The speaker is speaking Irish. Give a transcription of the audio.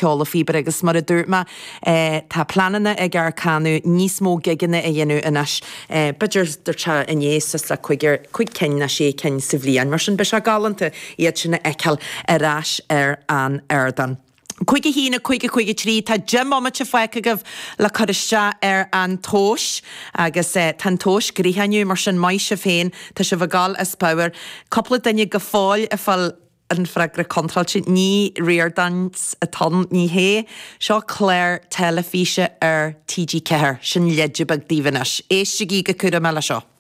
Ceol le Phíobaire agus mar a dúirt mé, tá pleananna ag Arcana níos mó gigeanna a dhéanamh anois, b'fhéidir dúirt sé inné suas le cúigear, cúig cinn nó sé cinn sa bhliain. Mar sin beidh sé galánta iad sin a fheiceáil ar ais ar an ardán. 5 1 5 5 3 Tá 10 mbomaite fágtha agaibh le cur isteach ar an tomhas agus tá an tomhas gnoitheach inniu, mar sin maith sibh féin, tá sibh ag gabháil as pabhar. Cúpla duine go fóill ag fáil an freagra contráilte, ní Riordáns atá ann, ní hé. Seo clár teilifíse ar TG4, sin leide beag daoibh anois. Éistigí go cúramach le seo.